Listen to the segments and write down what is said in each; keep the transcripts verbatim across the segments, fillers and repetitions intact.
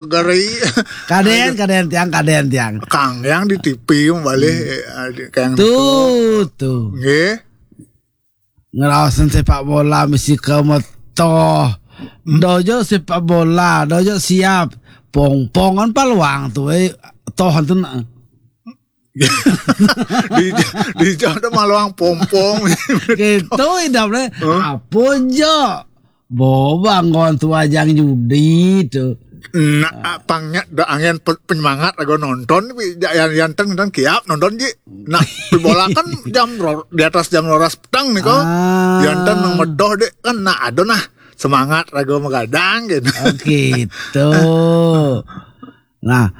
Gari. Kadén, kadén tiang, kadén tiang. Kang yang di T V balik, eh, ada kang Tuh, tuh. Nggih. Ngeraosan sepak bola mesti ke metoh. Dojo sepak bola, dojo siap. Pongpongan paluang tuh, eh, toh tuh. Di di ada maluang pompong. Gitu idapnya. Apa jo? Boba anggon tuh ajang judi tuh. Nah, pangnya da angin pe- penyemangat lagu nonton, wi, ja- yang yanten dan kiap nonton ji. Nah, di bola kan jam ro- di atas jam rolas petang nih kok. Ah. Yanten nang medoh deh kan, nah ada nah semangat lagu megadang gitu. Oh, gitu. Nah,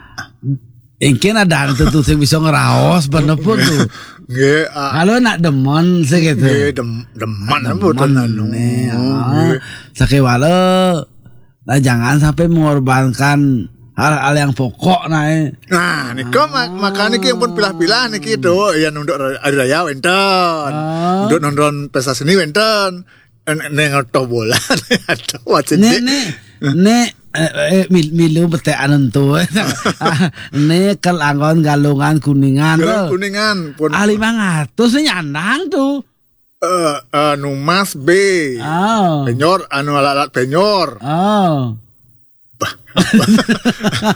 engken ada anu tuh sing bisa ngeraos bener pun tuh. Nggih, ah. Kalau nak demen sih gitu. Nggih, dem- demen Demen apa tuh nanu. Nih, ah. Nggih. Sakewala, nah, jangan sampai mengorbankan hal-hal yang pokok nah. Eh. Nah, nika mak- makanya ki yang pun pilah-pilah niki tuh, ya nunduk hari raya wenten. Ah. Nunduk nonton pesta seni wenten. Neng toh bola. Atau macam Nek, ni. Nek, nek, eh, eh, mil- milu betek anun tu. Nek kel anggon Galungan Kuningan Galungan tu. Kuningan pun. Ah, lima ratus ni nyandang tu. Eh, eh, Numas B. Oh. Penyor, anu alat-alat penyor. Oh.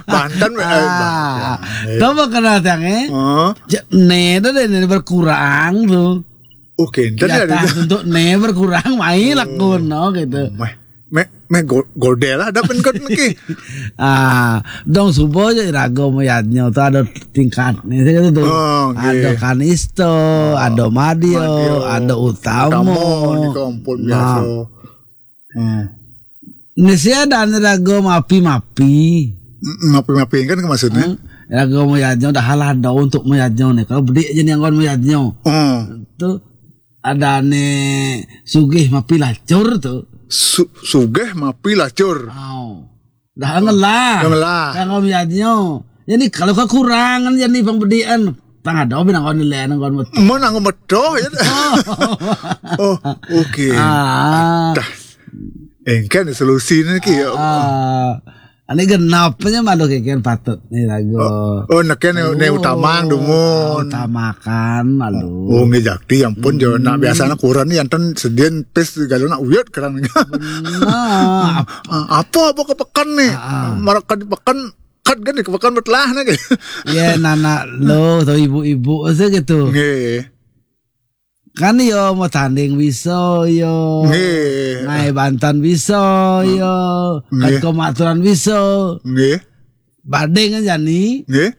Banten, eh, ah, Banten. Tahu apa kena tiang eh? Oh. Ne dah deh, ne berkurang tu. Oke, entar ya, untuk ne berkurang mai lakun no gitu. Meh meh go- godel ada pen kot niki. Ah, dong subo aja rago mayadnya tu ada tingkat ni saya kata tu. Oh, okay. Ada Kanisto, oh, ada Madio, Madio, ada Utamo. Utamo ni kampun biasa. Hmm. Ni sia ada anu rago mapi-mapi. Mm, mapi-mapi kan maksudnya? Hmm. Rago mayadnya dah halah ada untuk mayadnya ni. Kalau bedik aja ni anggon mayadnya. Hmm. Tu ada ni sugih mapi lacur tu. Su- sugih mapi lacur. Oh. Dah ngelah. Dah ngelah. Rago mayadnya. Jadi kalau kekurangan jadi pembedian. Tang ada bin anggon nilai anggon metu. Mun anggon metu ya. Oh, oke. Ah. Dah. Engken solusi ni ki. Ah. Ani genapnya malu keken patut ni lagu. Oh, oh neken ni utama dumun. Utamakan malu. Oh, nggih jakti ampun jo nak biasa nak kurang ni anten sedien pes galo nak uyut kerang ni. Benar. Ah, apa apa ke pekan ni? Ah, ah. Maraka di pekan kat kan di pekan betelah ni. Ya nana lo atau ibu-ibu saya gitu. Nggih. Kan yo mau tanding bisa yo. Nggih. Ngai bantan bisa yo. Nggih. Kan komaturan bisa. Nggih. Bading aja ni. Nggih.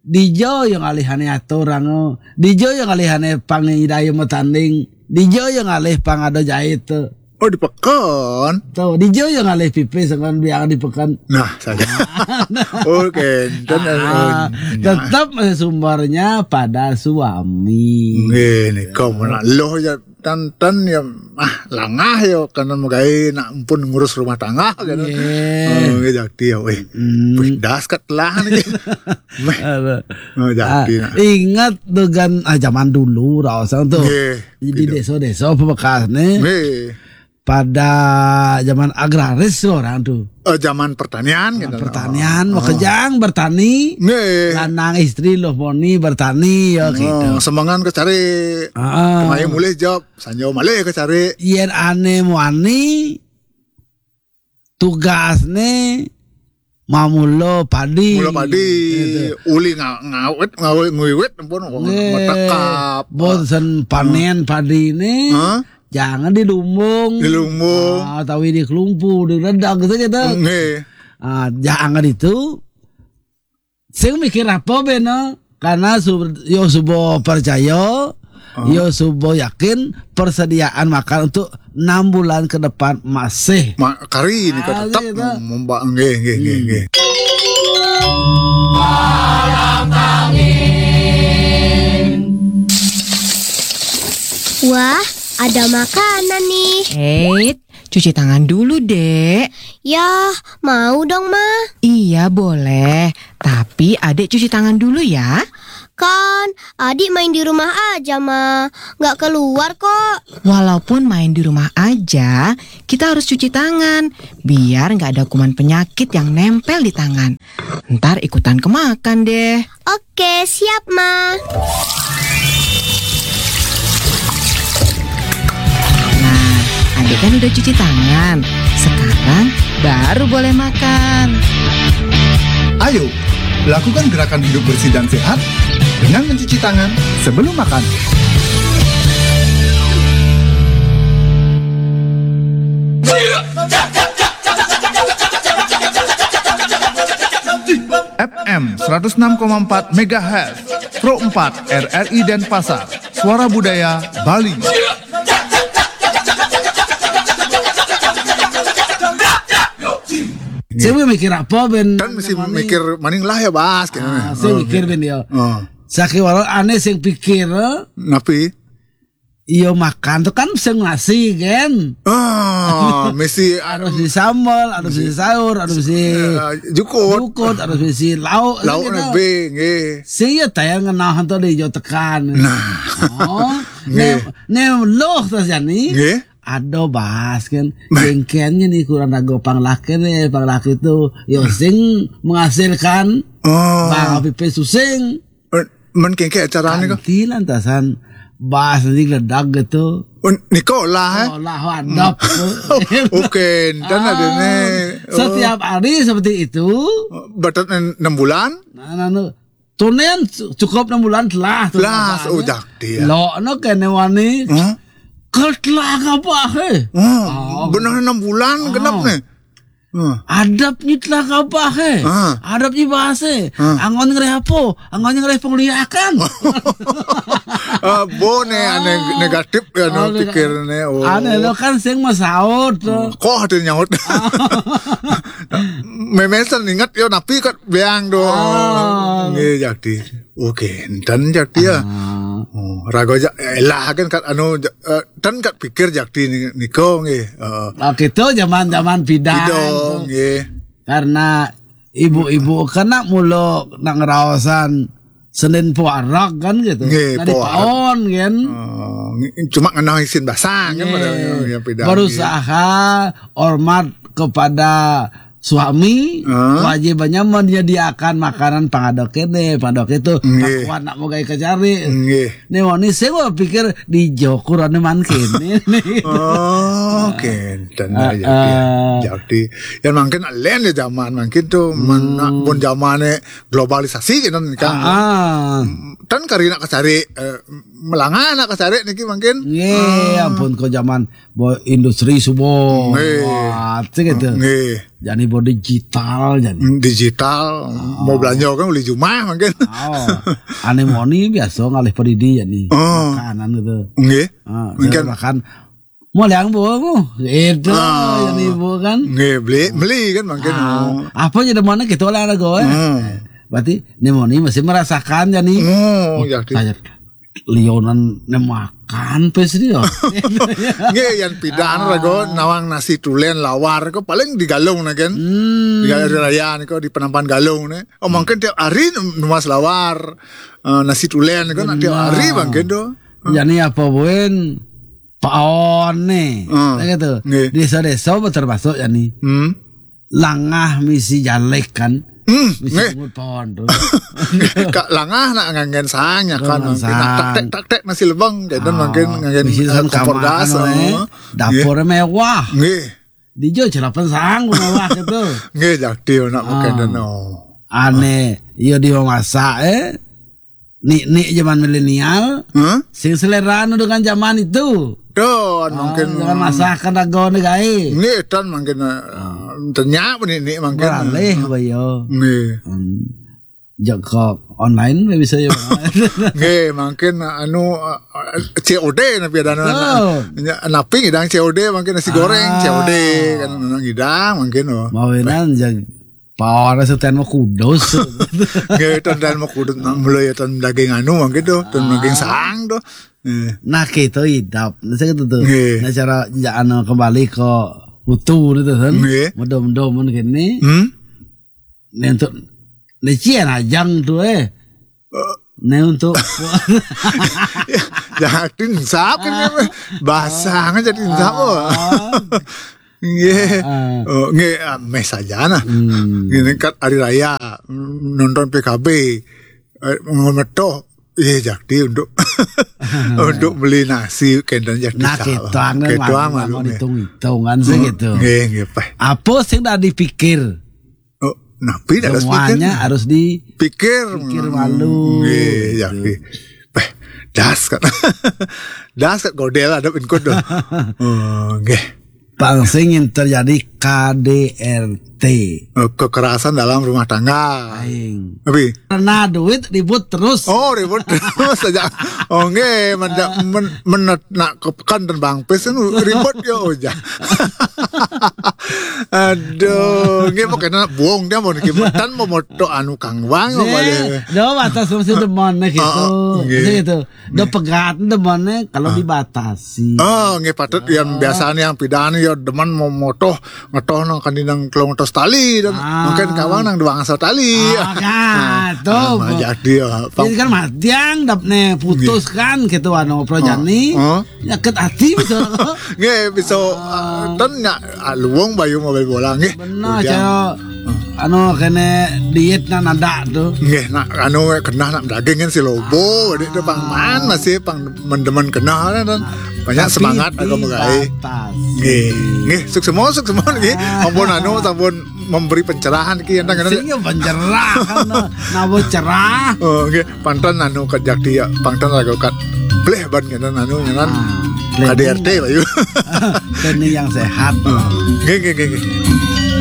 Dijo yang alihane atur ango. Dijo yang alihane pang idaya mau tanding. Dijo yang alih pang ada jahit tu. Oh di pekan. Tu dijo yang alih pipis dengan biang di pekan. Nah, saja. Oke, dan ah, tetap sumbernya pada suami. Nggih, ni kau mana loh ya tantan ya ah langah ya karena megai nak pun ngurus rumah tangga kan. Nggih. Oh, nggih jakti ya weh. Hmm. Pedas kat lah ni. Meh. Oh, jakti ah, nah. Ingat dengan ah zaman dulu raosang tu. Nggih. Di desa-desa apa bekas ni? Nggih. Pada zaman agraris orang tu. Eh, zaman pertanian gitu. Pertanian, oh. Makejang bertani. Nggih. Lanang istri loh moni bertani ya gitu. Semengan kecari. Ah. Kemai mulih job, sanjo malih kecari. Yen ane muani tugas ne mamulo padi. Mulo padi, gitu. Uli nga- ngawet, ngawet, ngiwit pun metekap. Bosen panen padi ne, jangan dilumbung. Dilumbung. Ah, tawi di kelumpu, di redang gitu gitu. Nggih. Ah, jangan itu. Sing mikir apa beno? Karena su- yo subo percaya, yo subo yakin persediaan makan untuk enam bulan ke depan masih. Ma- kari ni ah, tetap gitu. Membak nggih nggih nggih nggih. Wah, ada makanan nih. Eits, cuci tangan dulu, Dek. Ya, mau dong, Ma. Iya, boleh. Tapi Adek cuci tangan dulu ya. Kan, Adik main di rumah aja, Ma. Nggak keluar kok. Walaupun main di rumah aja, kita harus cuci tangan. Biar nggak ada kuman penyakit yang nempel di tangan. Ntar ikutan kemakan deh. Oke, siap, Ma. Nah, Adik kan udah cuci tangan. Sekarang baru boleh makan. Ayo, lakukan gerakan hidup bersih dan sehat dengan mencuci tangan sebelum makan. F M seratus enam koma empat megahertz, Pro empat R R I Denpasar, Suara Budaya Bali. Saya mikir apa, Ben? Kan mesti mikir maning lah ya, Bas, gitu. Ah, saya mikir, Ben, ya. Oh. Sakiwara aneh sing pikir, eh? Napi? Iyo, makan tuh kan sing nasi, kan? Ah, mesti Harus di sambal, harus di sayur, harus di eh, jukut. Jukut, harus di lauk. Lauk Gitu. Nebe, nggih. Sing ya tayang ngenah tuh di jo tekan. Nah. Oh, Nggih. ne ne loh terus jani. Nggih. Aduh, Bas, kan. Jengkennya nih kurang ragu panglaki nih, panglaki itu. Yo, sing menghasilkan. Oh. Bang, pipe susing. Eh, Men kengke acarane kok. Kanti lantasan Bas nanti geledak gitu. Oh, Nikola, eh? Olah wadap. Oke, dan ada nih. Oh. Setiap hari seperti itu. Batas enam bulan. Nah, nah, nah. Tunen cu- cukup enam bulan telah tuh. Lah, Apa, oh, ya? Jakti, ya. Lo no kene wani. Hah? Kel telah apa, eh? Oh, benar enam bulan genap nih. Oh. Adab ni telah apa, eh? Ah. Adab ni bahasa. Ah. Angon ngereh apa? Angon ngereh pengliakan. Ah, bo nih aneh negatif ya no Aneh. pikirnya. Oh. Aneh lo kan sing masaut tuh. Kok ada nyaut? Memesan ingat yo napi kat beang do. Ah. Nggih, Jakti. Oke, enten Jakti ya. Ah. Oh, rago ja elah kan kat anu ja- eh, ten kat pikir Jakti ni- niko nggih. Eh, Nah, gitu zaman-zaman pidan. Pido Tuh. Nggih. Karena ibu-ibu kena mulu nak ngeraosan Senin puarak kan gitu. Nggih, Nah, di puarak. Paon kan. Oh, ngi- cuma ngenah isin basang kan Nggih. pada yang pidan. Berusaha hormat kepada suami, Hah? Kewajibannya menyediakan makanan pangadok ini, pangadok itu. Nggih. Tak kuat nak mau gaya kecari. Nggih. Nih wani saya gua pikir di jokuran man kene. Oh, oke. Dan Ah, ya, ah. Jakti. Ya mungkin lain ya zaman mungkin tuh men- pun zamannya globalisasi gitu kan. Ah. Tan kari nak kecari eh, melanga nak kecari niki mungkin. Nggih, ampun kok zaman bo industri subuh. Nggih. Wah, cek gitu. Nggih. Jadi bo digital jadi. Digital mau belanja kan beli jumah mungkin. Oh, aneh moni biasa ngalih peridi jadi. Oh. Makanan gitu. Nggih. Ah, Mungkin makan mau yang bu, bu. Itu Ah. Jadi bu kan. Nggih, beli beli kan mungkin. Ah, Oh. Apa jadi mana kita olahraga ya? Hmm. Berarti nemoni masih merasakan jadi. Oh, ya. Saya lionan nemakan pes dia. Nggih, yang pidan rago nawang nasi tulen lawar kok paling digalung nah kan. Hmm. Di hari raya nih kok di penampan galung nih. Oh, mungkin tiap hari numas lawar eh, nasi tulen kok nak tiap hari mungkin tuh. Jadi apa buen paon nih. Hmm. Ya gitu. Nggih. Desa-desa termasuk ya nih. Hmm. Langah misi jalek kan. Hmm, Misi nggih. Bungut paon tuh. Kak langah nak nganggen sang ya kan Nganggen mungkin nak sang. Tak tek tak tek nasi lebang gitu Ah, mungkin nganggen misi eh, sang kompor kamar gas. anu, eh. Eh. Dapurnya mewah. Nggih. Di jo celapan sang mewah gitu. Nggih, Jakti nak makan Ah. dan oh. Aneh, yo di memasak eh. Nik-nik zaman milenial, Hah? sing selera anu dengan zaman itu. Don Ah, mungkin. Jangan masakan dago nih gai. Nggih, tan mungkin eh, tenyak apa nih nih mungkin. Beralih apa yo. Nggih. Hmm. Jok online bisa yo. Nggih, mungkin anu eh, C O D napi ada Oh. napi ngidang C O D mungkin nasi goreng Ah. C O D kan ngidang mungkin oh. Mawinan jag power setan mah kudus. Nggih, tan dan mau kudu mulai tan daging anu mungkin tuh, tan daging sang tuh. Eh. Nah, kita idap. Nah, saya kata tuh. Nggih. Nah, cara ja- anu kembali ke utuh itu kan. Nggih. Medom-doman gini. Hmm? Nih untuk nih cian ajang tuh eh. Eh, Nah, untuk ya, jangan dinsap kan, basah aja dinsap. Oh. Nggih. Oh, nggih, ah, meh saja nah. Ngene kan hari raya, nonton P K B, eh, ngemetoh. Iya, Jakti untuk untuk beli nasi kenten Jakti. Nah, sawah. Kita kan malu, malu hitung-hitungan sih gitu. Nggih, nggih, Pak. Apa sing dah dipikir? Oh, napi dah semuanya harus dipikir. Pikir malu. Nggih, Jakti. Peh, das kan. Das kan godel ada pengkut tuh. Oh, nggih. Pang sing yang terjadi K D R T. Eh, kekerasan dalam rumah tangga. Aing. Tapi karena duit ribut terus. Oh, ribut terus aja. Oh, nggih, men, men, menet nak ke pekan dan Bang Pes kan ribut ya aja. Aduh, nggih pokoknya buang dia mau niki tan mau moto anu Kang Wang apa deh. Do batas masih demen gitu. Oh, nggih. Gitu. Do pegat demen kalau dibatasi. Oh, nggih patut yang biasanya yang pidan ya demen mau motoh ngetoh nang kandinang kelong atas tali dan mungkin kawang nang doang asal tali. Ah, kan, tuh. Jadi kan matiang dap ne putus kan gitu anu projani. Nyakit hati bisa. Nggih bisa, eh, ten nya, ah, luwung bayu mau bola nggih. Benar cara anu kene diet nak nada tuh. Nggih nak anu kena nak daging kan si lobo, wadih tuh pang man masih pang mendemen kena kan, dan banyak semangat aku megai. Nggih, nggih, sukses semua, sukses semua nggih. Ampun anu, sampun memberi pencerahan ki enten kan. Sing ya pencerahan, nah, nabo cerah. Oh, nggih, pantan anu kat Jakti ya, pantan lagu kat pleh ban kena anu nyenan. K D R T bayu. Ini yang sehat. Nggih, nggih, nggih, nggih.